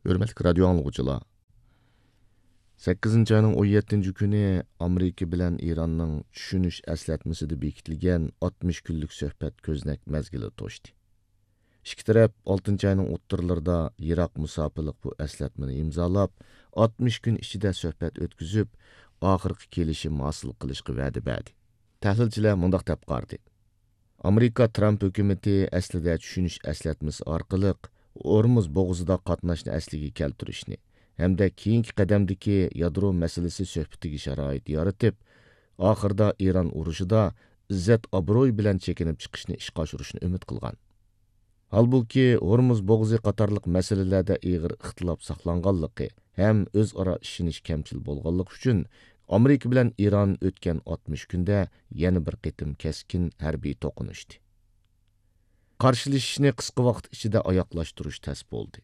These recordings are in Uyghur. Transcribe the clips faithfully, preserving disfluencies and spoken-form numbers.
ھۆرمەتلىك رادىيو ئاڭلىغۇچىلار، سەككىزىنچى ئاينىڭ ئون يەتتىنچى كۈنى ئامېرىكا بىلەن ئىراننىڭ چۈشىنىش ئەسلەتمىسىدە بېكىتىلگەن ئاتمىش كۈنلۈك سۆھبەت كۆزنەك مەزگىلى توشتى. ئىككى تەرەپ ئالتىنچى ئاينىڭ ئوتتۇرىلىرىدا يىراق مۇساپىلىق بۇ ئەسلەتمىنى ئىمزالاپ، ئاتمىش كۈن ئىچىدە سۆھبەت ئۆتكۈزۈپ، ئاخىرقى كېلىشىم ھاسىل قىلىشقا ۋەدە بەردى. تەھلىلچىلەر مۇنداق دەپ قارىدى. ئامېرىكا ترامپ ھۆكۈمىتى ئەسلىدە چۈشىنىش ئەسلەتمىسى ئارقىلىق ھورمۇز بوغۇزىدا قاتناشنى ئەسلىگە كەلتۈرۈشنى ھەمدە كېيىنكى قەدەمدىكى يادرو مەسىلىسى سۆھبىتىگە شارائىت يارىتىپ، ئاخىرىدا ئىران ئۇرۇشىدا ئىززەت-ئابرۇي بىلەن چېكىنىپ چىقىشنى ئىشقا ئاشۇرۇشنى ئۈمىد قىلغان. ھالبۇكى، ھورمۇز بوغۇزى قاتارلىق مەسىلىلەردە ئېغىر ئىختىلاپ ساقلانغانلىقى ھەم ئۆزئارا ئىشىنىش كەمچىل بولغانلىقى ئۈچۈن، ئامېرىكا بىلەن ئىران ئۆتكەن ئاتمىش كۈندە يەنە بىر قېتىم كەسكىن ھەربىي توقۇنۇشتى. قارشىلىشىشنى قىسقا ۋاقىت ئىچىدە ئاياغلاشتۇرۇش تەس بولدى.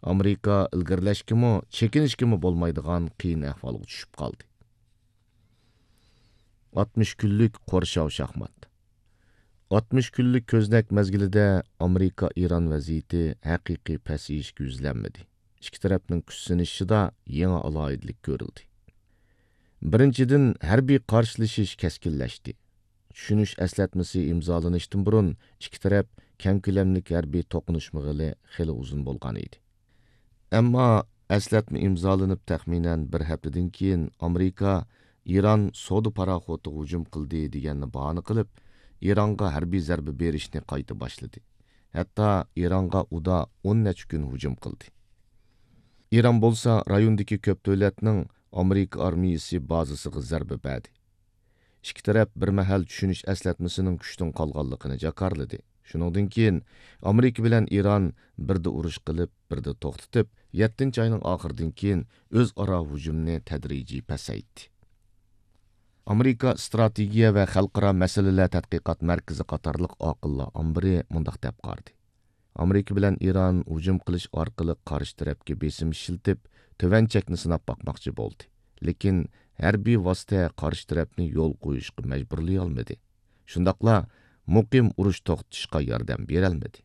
ئامېرىكا ئىلگىرىلەشكىمۇ، چېكىنىشكىمۇ بولمايدىغان قىيىن ئەھۋالغا چۈشۈپ قالدى. ئاتمىش كۈنلۈك قورشاۋ شاھمات. ئاتمىش كۈنلۈك كۆزنەك مەزگىلىدە ئامېرىكا-ئىران ۋەزىيىتى ھەقىقىي پەسىيىشكە يۈزلەنمىدى. ئىككى تەرەپنىڭ كۈچسىنىشىشىدا يېڭى ئالاھىدىلىك كۆرۈلدى. بىرىنچىدىن، ھەربىي قارشىلىشىش كەسكىنلەشتى. چۈشىنىش ئەسلەتمىسى ئىمزالىنىشتىن بۇرۇن ئىككى تەرەپ كەڭ كۆلەملىك ھەربىي توقۇنۇشمىغىلى خېلى ئۇزۇن بولغان ئىدى. ئەمما ئەسلەتمە ئىمزالىنىپ تەخمىنەن بىر ھەپتىدىن كېيىن ئامېرىكا ئىران سودا پاراخوتىغا ھۇجۇم قىلدى دېگەننى باھانە قىلىپ، ئىرانغا ھەربىي زەربە بېرىشنى قايتا باشلىدى. ھەتتا ئىرانغا ئۇدا ئون نەچچە كۈن ھۇجۇم قىلدى. ئىران بولسا رايوندىكى كۆپ دۆلەتنىڭ ئامېرىكا ئارمىيىسى بازىسىغا زەربە بەردى. ئىككى تەرەپ بىر مەھەل چۈشىنىش ئەسلەتمىسىنىڭ كۈچتىن قالغانلىقىنى جاكارلىدى. شۇنىڭدىن كېيىن ئامېرىكا بىلەن ئىران بىردە ئۇرۇش قىلىپ، بىردە توختىتىپ، يەتتىنچى ئاينىڭ ئاخىرىدىن كېيىن ئۆزئارا ھۇجۇمنى تەدرىجىي پەسەيتتى. ئامېرىكا ئىستراتېگىيە ۋە خەلقئارا مەسىلىلەر تەتقىقات مەركىزى قاتارلىق ئاقىللار ئامبىرى مۇنداق دەپ قارىدى. ئامېرىكا بىلەن ئىران ھۇجۇم قىلىش ئارقىلىق قارشى تەرەپكە بېسىم ئىشلىتىپ، تۆۋەن چەكنى سىناپ باقماقچى بولدى. لېكىن ھەربىي ۋاسىتە قارشى تەرەپنى يول قويۇشقا مەجبۇرلىيالمىدى. شۇنداقلا مۇقىم ئۇرۇش توختىتىشقا ياردەم بېرەلمىدى.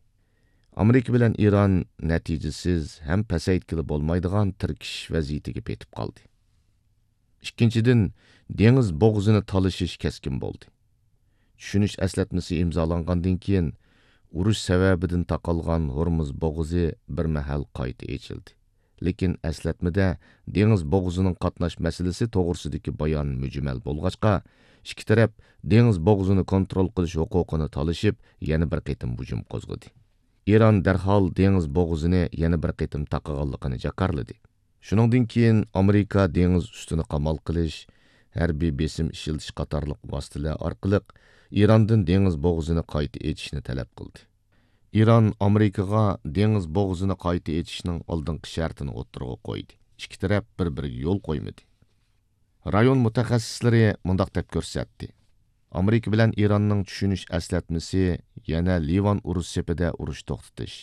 ئامېرىكا بىلەن ئىران نەتىجىسىز ھەم پەسەيتكىلى بولمايدىغان تىركىشىش ۋەزىيىتىگە پېتىپ قالدى. ئىككىنچىدىن، دېڭىز بوغۇزىنى تالىشىش كەسكىن بولدى. چۈشىنىش ئەسلەتمىسى ئىمزالانغاندىن كېيىن، ئۇرۇش سەۋەبىدىن تاقالغان ھورمۇز بوغۇزى بىر مەھەل قايتا ئېچىلدى. لېكىن ئەسلەتمىدە دېڭىز بوغۇزىنىڭ قاتناش مەسىلىسى توغرىسىدىكى بايان مۈجمەل بولغاچقا، ئىككى تەرەپ دېڭىز بوغۇزىنى كونترول قىلىش ھوقۇقىنى تالىشىپ، يەنە بىر قېتىم ھۇجۇم قوزغىدى. ئىران دەرھال دېڭىز بوغۇزىنى يەنە بىر قېتىم تاقىغانلىقىنى جاكارلىدى. شۇنىڭدىن كېيىن ئامېرىكا دېڭىز ئۈستىنى قامال قىلىش، ھەربىي بېسىم ئىشلىتىش قاتارلىق ۋاسىتىلەر ئارقىلىق ئىراندىن دېڭىز بوغۇزىنى قايتا ئېچىشنى تەلەپ قىلدى. ئىران ئامېرىكىغا دېڭىز بوغۇزىنى قايتا ئېچىشنىڭ ئالدىنقى شەرتىنى ئوتتۇرىغا قويدى. ئىككى تەرەپ بىر-بىرىگە يول قويمىدى. رايون مۇتەخەسسىسلىرى مۇنداق دەپ كۆرسەتتى. ئامېرىكا بىلەن ئىراننىڭ چۈشىنىش ئەسلەتمىسى يەنە لىۋان ئۇرۇش سېپىدە ئۇرۇش توختىتىش،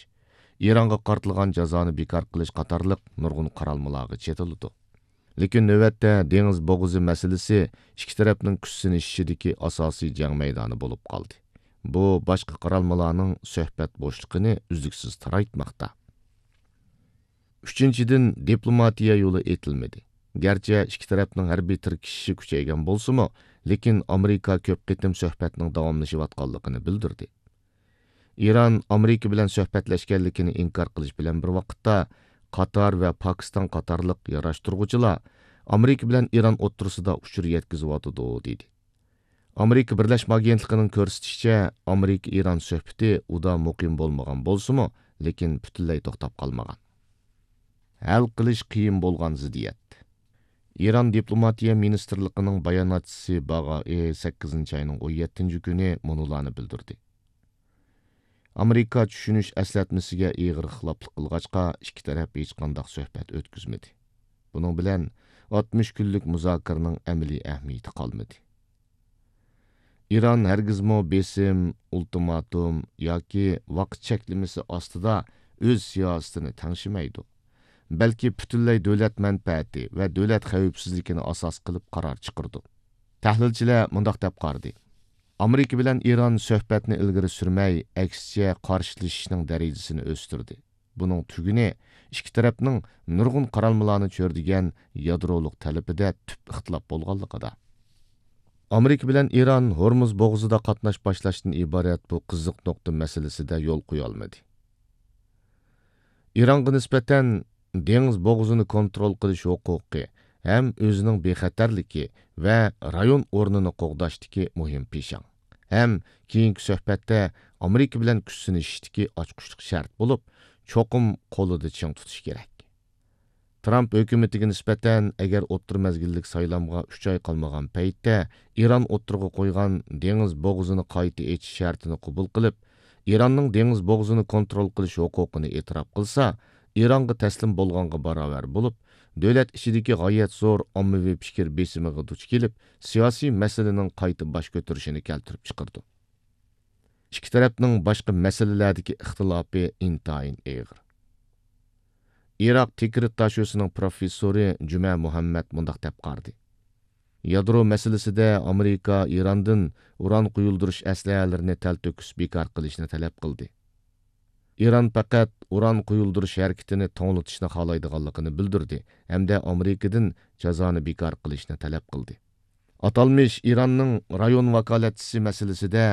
ئىرانغا قارىتىلغان جازانى بىكار قىلىش قاتارلىق نۇرغۇن قارالمىلارغا چېتىلىدۇ. لېكىن نۆۋەتتە دېڭىز بوغۇزى مەسىلىسى ئىككى تەرەپنىڭ كۈچسىنىشىشىدىكى ئاساسىي جەڭ مەيدانى بولۇپ قالدى. بۇ باشقا قارالمىلارنىڭ سۆھبەت بوشلۇقىنى ئۈزلۈكسىز تارايتماقتا. ئۈچىنچىدىن، دىپلوماتىيە يولى ئېتىلمىدى. گەرچە ئىككى تەرەپنىڭ ھەربىي تىركىشىشى كۈچەيگەن بولسىمۇ، لېكىن ئامېرىكا كۆپ قېتىم سۆھبەتنىڭ داۋاملىشىۋاتقانلىقىنى بىلدۈردى. ئىران ئامېرىكا بىلەن سۆھبەتلەشكەنلىكىنى ئىنكار قىلىش بىلەن بىر ۋاقىتتا، قاتار ۋە پاكىستان قاتارلىق ياراشتۇرغۇچىلار ئامېرىكا بىلەن ئىران ئوتتۇرىسىدا ئۇچۇر يەتكۈزۈۋاتىدۇ، دېدى. ئامېرىكا بىرلەشمە ئاگېنتلىقىنىڭ كۆرسىتىشىچە، ئامېرىكا-ئىران سۆھبىتى ئۇدا مۇقىم بولمىغان بولسىمۇ، لېكىن پۈتۈنلەي توختاپ قالمىغان. ھەل قىلىش قىيىن بولغان زىددىيەت. ئىران دىپلوماتىيە مىنىستىرلىقىنىڭ باياناتچىسى باغائى سەككىزىنچى ئاينىڭ ئون يەتتىنچى كۈنى مۇنۇلارنى بىلدۈردى. ئامېرىكا چۈشىنىش ئەسلەتمىسىگە ئېغىر خىلاپلىق قىلغاچقا، ئىككى تەرەپ ھېچقانداق سۆھبەت ئۆتكۈزمىدى. بۇنىڭ بىلەن ئاتمىش كۈنلۈك مۇزاكىرىنىڭ ئەمەلىي ئەھمىيىتى قالمىدى. ئىران ھەرگىزمۇ بېسىم، ئۇلتىماتوم ياكى ۋاقىت چەكلىمىسى ئاستىدا ئۆز سىياسىتىنى تەڭشىمەيدۇ، بەلكى پۈتۈنلەي دۆلەت مەنپەئەتى ۋە دۆلەت خەۋپسىزلىكىنى ئاساس قىلىپ قارار چىقىرىدۇ. تەھلىلچىلەر مۇنداق دەپ قارىدى. ئامېرىكا بىلەن ئىران سۆھبەتنى ئىلگىرى سۈرمەي، ئەكسىچە قارشىلىشىشنىڭ دەرىجىسىنى ئۆستۈردى. بۇنىڭ تۈگۈنى ئىككى تەرەپنىڭ نۇرغۇن قارالمىلارنى چۆرىدىگەن يادرولۇق تەلىپىدە تۈپ ئىختىلاپ بولغانلىقىدا. ئامېرىكا بىلەن ئىران ھورمۇز بوغۇزىدا قاتناش باشلاشتىن ئىبارەت بۇ قىزىق نۇقتا مەسىلىسىدە يول قويالمىدى. ئىرانغا نىسبەتەن دېڭىز بوغۇزىنى كونترول قىلىش ھوقۇقى ھەم ئۆزىنىڭ بىخەتەرلىكى ۋە رايون ئورنىنى قوغداشتىكى مۇھىم پىشاڭ ھەم كېيىنكى سۆھبەتتە ئامېرىكا بىلەن كۈچ سىنىشىشتىكى ئاچقۇچلۇق شەرت بولۇپ، چوقۇم قولىدا چىڭ تۇتۇش كېرەك. ترامپ ھۆكۈمىتىگە نىسبەتەن، ئەگەر ئوتتۇرا مەزگىللىك سايلامغا ئۈچ ئاي قالمىغان پەيتتە ئىران ئوتتۇرىغا قويغان دېڭىز بوغۇزىنى قايتا ئېچىش شەرتىنى قوبۇل قىلىپ، ئىراننىڭ دېڭىز بوغۇزىنى كونترول قىلىش ھوقۇقىنى ئېتىراپ قىلسا، ئىرانغا تەسلىم بولغانغا باراۋەر بولۇپ، دۆلەت ئىچىدىكى غايەت زور ئاممىۋى پىكىر بېسىمىغا دۇچ كېلىپ، سىياسىي مەسىلىنىڭ قايتا باش كۆتۈرۈشىنى كەلتۈرۈپ چىقىرىدۇ. ئىككى تەرەپنىڭ باشقا مەسىلىلەردىكى ئىختىلاپى ئىنتايىن ئېغىر. ئىراق تىكرىت داشۆسىنىڭ پروفېسسورى جۈمە مۇھەممەد مۇنداق دەپ قارىدى: يادرو مەسىلىسىدە ئامېرىكا ئىراندىن ئۇران قۇيۇلدۇرۇش ئەسلىھەلىرىنى تەلتۆكۈس بىكار قىلىشنى تەلەپ قىلدى. ئىران پەقەت ئۇران قۇيۇلدۇرۇش ھەرىكىتىنى توڭلىتىشنى خالايدىغانلىقىنى بىلدۈردى ھەمدە ئامېرىكىدىن جازانى بىكار قىلىشنى تەلەپ قىلدى. ئاتالمىش ئىراننىڭ رايون ۋاكالەتچىسى مەسىلىسىدە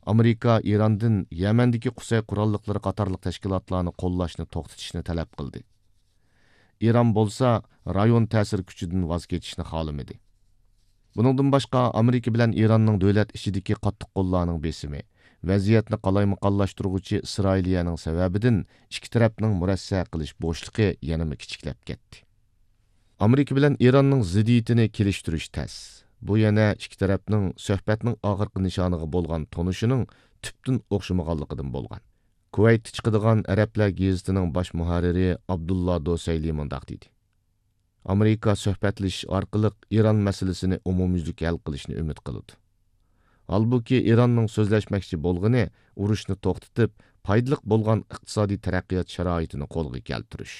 ئامېرىكا ئىراندىن يەمەندىكى قۇسەي قوراللىقلىرى قاتارلىق تەشكىلاتلارنى قوللاشنى توختىتىشنى تەلەپ قىلدى. ئىران بولسا رايون تەسىر كۈچىدىن ۋاز كېچىشنى خالىمىدى. بۇنىڭدىن باشقا، ئامېرىكا بىلەن ئىراننىڭ دۆلەت ئىچىدىكى قاتتىق قوللارنىڭ بېسىمى، ۋەزىيەتنى قالايمىقانلاشتۇرغۇچى ئىسرائىلىيەنىڭ سەۋەبىدىن ئىككى تەرەپنىڭ مۇرەسسە قىلىش بوشلۇقى يەنىمۇ كىچىكلەپ كەتتى. ئامېرىكا بىلەن ئىراننىڭ زىددىيىتىنى كېلىشتۈرۈش تەس. بۇ يەنە ئىككى تەرەپنىڭ سۆھبەتنىڭ ئاخىرقى نىشانىغا بولغان تونۇشىنىڭ تۈپتىن ئوخشىمىغانلىقىدىن بولغان. كۇۋەيتتە چىقىدىغان ئەرەبلەر گېزىتىنىڭ باش مۇھەررىرى ئابدۇللا دوسەيلى مۇنداق دېدى: ئامېرىكا سۆھبەتلىشىش ئارقىلىق ئىران مەسىلىسىنى ئومۇميۈزلۈك ھەل قىلىشنى ئۈمىد قىلىدۇ. ھالبۇكى، ئىراننىڭ سۆزلەشمەكچى بولغىنى ئۇرۇشنى توختىتىپ، پايدىلىق بولغان ئىقتىسادىي تەرەققىيات شارائىتىنى قولغا كەلتۈرۈش.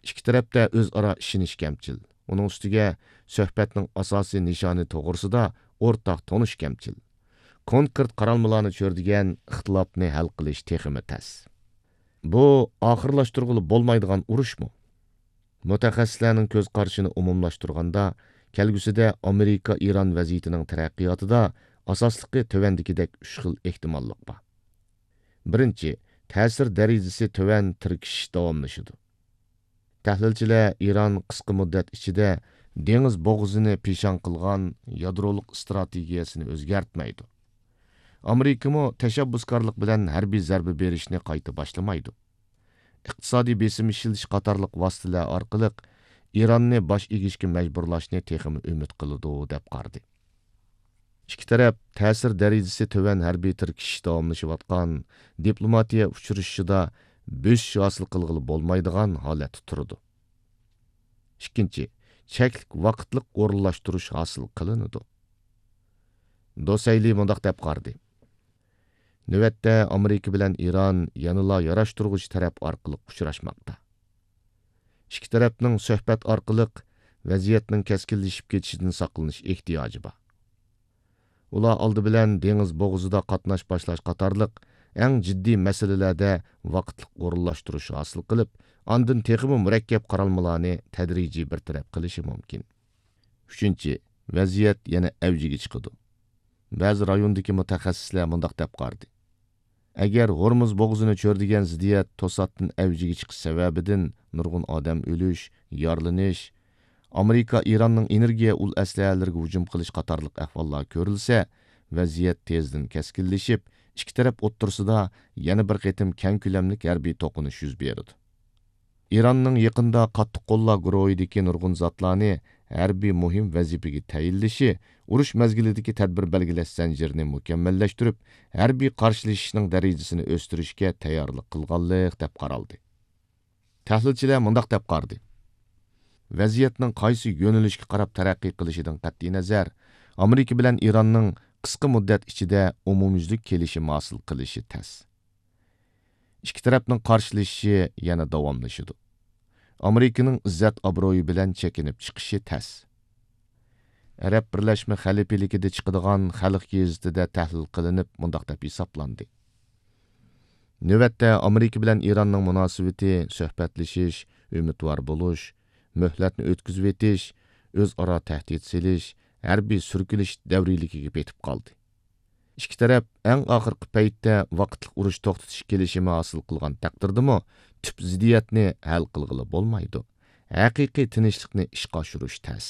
ئىككى تەرەپتە ئۆزئارا ئىشىنىش كەمچىل. ئۇنىڭ ئۈستىگە، سۆھبەتنىڭ ئاساسىي نىشانى توغرىسىدا ئورتاق تونۇش كەمچىل. كونكرېت قارالمىلارنى چۆرىدىگەن ئىختىلاپنى ھەل قىلىش تېخىمۇ تەس. بۇ ئاخىرلاشتۇرغىلى بولمايدىغان ئۇرۇشمۇ؟ مۇتەخەسسىسلەرنىڭ كۆز قارىشىنى ئومۇملاشتۇرغاندا، كەلگۈسىدە ئامېرىكا ئىران ۋەزىيىتىنىڭ تەرەققىياتىدا ئاساسلىقى تۆۋەندىكىدەك ئۈچ خىل ئېھتىماللىق بار. بىرىنچى، تەسىر دەرىجىسى تۆۋەن تىركىشىش داۋاملىشىدۇ. تەھلىلچىلەر ئىران قىسقا مۇددەت ئىچىدە دېڭىز بوغۇزىنى پىشاڭ قىلغان يادرولۇق ئىستراتېگىيەسىنى ئۆزگەرتمەيدۇ. ئامېرىكىمۇ تەشەببۇسكارلىق بىلەن ھەربىي زەربە بېرىشنى قايتا باشلىمايدۇ. ئىقتىسادىي بېسىم ئىشلىتىش قاتارلىق ۋاسىتىلەر ئارقىلىق ئىراننى باش ئېگىشكە مەجبۇرلاشنى تېخىمۇ ئۈمىد قىلىدۇ، دەپ قارىدى. ئىككى تەرەپ تەسىر دەرىجىسى تۆۋەن ھەربىي تىركىشىش داۋاملىشىۋاتقان دىپلوماتىيە ئۇچرىشىشىدا بۆسۈش ھاسىل قىلغىلى بولمايدىغان ھالەتتە تۇرىدۇ. ئىككىنچى، چەكلىك ۋاقىتلىق ئورۇنلاشتۇرۇش ھاسىل قىلىنىدۇ. دوسەيلى مۇنداق دەپ قارىدى: نۆۋەتتە ئامېرىكا بىلەن ئىران يەنىلا ياراشتۇرغۇچى تەرەپ ئارقىلىق ئۇچراشماقتا. ئىككى تەرەپنىڭ سۆھبەت ئارقىلىق ۋەزىيەتنىڭ كەسكىنلىشىپ كېتىشىدىن ساقلىنىش ئېھتىياجى بار. ئۇلار ئالدى بىلەن دېڭىز بوغۇزىدا قاتناش باشلاش قاتارلىق ئەڭ جىددىي مەسىلىلەردە ۋاقىتلىق ئورۇنلاشتۇرۇش ھاسىل قىلىپ، ئاندىن تېخىمۇ مۇرەككەپ قارالمىلارنى تەدرىجىي بىر تەرەپ قىلىشى مۇمكىن. ئۈچىنچى، ۋەزىيەت يەنە ئەۋجىگە چىقىدۇ. بەزى رايوندىكى مۇتەخەسسىسلەر مۇنداق دەپ قارىدى: ئەگەر ھورمۇز بوغۇزىنى چۆرىدىگەن زىددىيەت توساتتىن ئەۋجىگە چىقىش سەۋەبىدىن نۇرغۇن ئادەم ئۆلۈش، يارىلىنىش، ئامېرىكا ئىراننىڭ ئېنېرگىيە ئۇل ئەسلىھەلىرىگە ھۇجۇم قىلىش قاتارلىق ئەھۋاللار كۆرۈلسە، ۋەزىيەت تېزدىن كەسكىنلىشىپ، ئىككى تەرەپ ئوتتۇرىسىدا يەنە بىر قېتىم كەڭ كۆلەملىك ھەربىي توقۇنۇش يۈز بېرىدۇ. ئىراننىڭ يېقىندا قاتتىق قوللار گۇرۇھىدىكى نۇرغۇن زاتلارنى ھەربىي مۇھىم ۋەزىپىگە تەيىنلىشى ئۇرۇش مەزگىلىدىكى تەدبىر بەلگىلەش زەنجىرىنى مۇكەممەللەشتۈرۈپ، ھەربىي قارشىلىشىشنىڭ دەرىجىسىنى ئۆستۈرۈشكە تەييارلىق قىلغانلىق دەپ قارالدى. تەھلىلچىلەر مۇنداق دەپ قارىدى: ۋەزىيەتنىڭ قايسى يۆنىلىشكە قاراپ تەرەققىي قىلىشىدىن قەتئىينەزەر، ئامېرىكا بىلەن ئىراننىڭ قىسقا مۇددەت ئىچىدە ئومۇميۈزلۈك كېلىشىم ھاسىل قىلىشى تەس. ئىككى تەرەپنىڭ قارشىلىشىشى يەنە داۋاملىشىدۇ. ئامېرىكىنىڭ ئىززەت-ئابرۇيى بىلەن چېكىنىپ چىقىشى تەس. ئەرەب بىرلەشمە خەلىپىلىكىدە چىقىدىغان خەلق گېزىتىدە تەھلىل قىلىنىپ، مۇنداق دەپ ھېسابلاندى: نۆۋەتتە ئامېرىكا بىلەن ئىراننىڭ مۇناسىۋىتى سۆھبەتلىشىش، ئۈمىدۋار بولۇش، مۆھلەتنى ئۆتكۈزۈۋېتىش، ئۆزئارا تەھدىت سېلىش، ھەربىي سۈركىلىش دەۋرىيلىكىگە پېتىپ قالدى. ئىككى تەرەپ ئەڭ ئاخىرقى پەيتتە ۋاقىتلىق ئۇرۇش توختىتىش كېلىشىمى ھاسىل قىلغان تەقدىردىمۇ، تۈپ زىددىيەتنى ھەل قىلغىلى بولمايدۇ. ھەقىقىي تىنچلىقنى ئىشقا ئاشۇرۇش تەس.